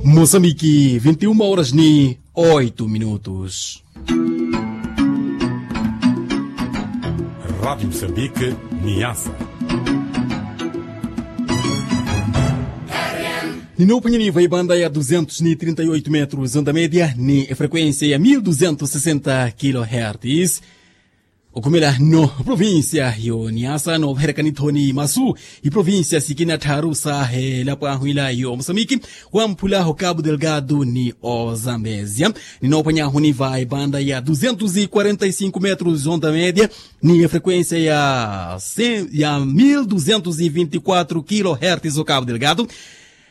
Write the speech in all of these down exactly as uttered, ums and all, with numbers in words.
Moçambique, vinte e uma horas ni oito minutos. Rádio Moçambique, Niassa. Ninophwanyani va ibanda ya duzentos ni trinta e oito metros onda média ni efrequência ya mil duzentos sessenta kilohertz. Okhumela no provincia yo niasa novaherekani thoni masu iprovincia sikina tharu sa helapo ahwila yo mosamiki wamphula ho cabo delgado ni ozambezia. Ninophwanya huni va ebanda ya duzentos e quarenta e cinco metros onda média ni efrequência ya mil duzentos e vinte e quatro kilohertz o cabo delgado.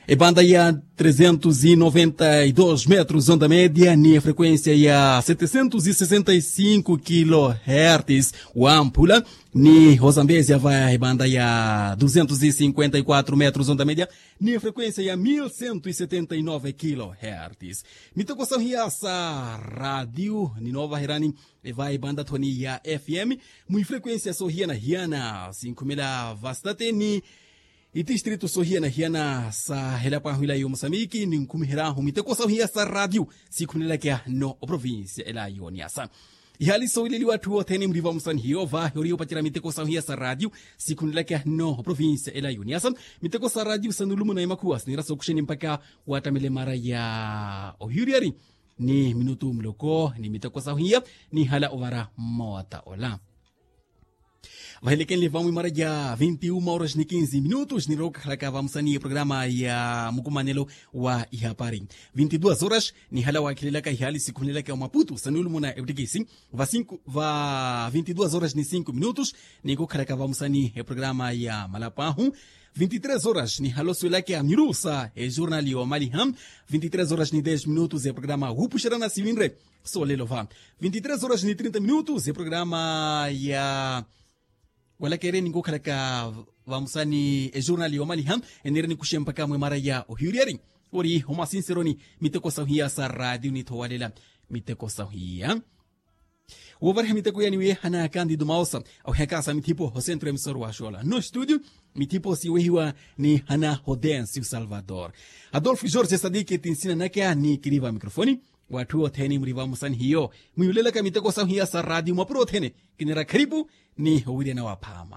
Ebanda ya trezentos e noventa e dos metros onda média ni efrequência ya setecentos e sessenta e cinco kilohertz wamphula. Ni hozambezia vaya ebanda ya duzentos e cinquenta e quatro metros onda média ni efrequência ya mil cento e setenta e nove kilohertz. Miteko sahiya sa radio ninovaherani eva ebanda thoni ya fm mu efrequência sohiyana-hiyana sinkhumela vastate ni itistrito sohiyana-hiyana sa helapo ahwila yo mosamiki ninkhumiheryahu miteko sahiya sa radio sikhumelelakya no oprovincia ela yo niasa. Ihali sowileliwa atthu othene muriva musani hiyo vahi oriyo opacerya miteko sahiya sa radio sikhumelelakya no oprovincia ela yo niasa. Miteko sa radio sanulumuna emakhuwa sinira sokuxeni mpakha wattamele mara ya ohiyuriyari ni minutu muloko ni miteko sahiya nihala ovara mmoota ola. Vahilekenle vamwe mara ya vinte e uma horas ni quinze minutos nirokhalaka vamusani eprograma ya mukumanelo wa ihapari. Vinte e duas horas nihala wakhelelaka ihali sikhumelelaka omaputu sanulumuna eptikisi va cinco va vinte e duas horas ni cinco minutos nikukhalaka vamusani eprograma ya malapo ahu. Vinte e três horas nihala osuwelaka miru sa ejurnali omaliha. Vinte e três horas ni dez minutos eprograma wupuxerana siwinre solelo va vinte e três horas ni trinta minutos eprograma ya walakereni nkukhalaka vamusani ejurnali omaliha. Enireni kuxe mpakha mwe mara ya ohiyuriyari ori omasinseroni miteko sahiya sa radio nithowalela miteko sahiya. Wovariha miteko yani wiyehana kandido maosa awihaka sa mithipo hosentro emisoro wa xola no studio. Mithipo siwehiwa ni hana hodencio salvador adolfo jorge sadiki tinsina nakya ni kiriva mikrofoni. Watthu othene muriva musani hiyo mwiyulelaka miteko sahiya sa radio mwapuro othene kinira kharipu ni owiriyana waphama.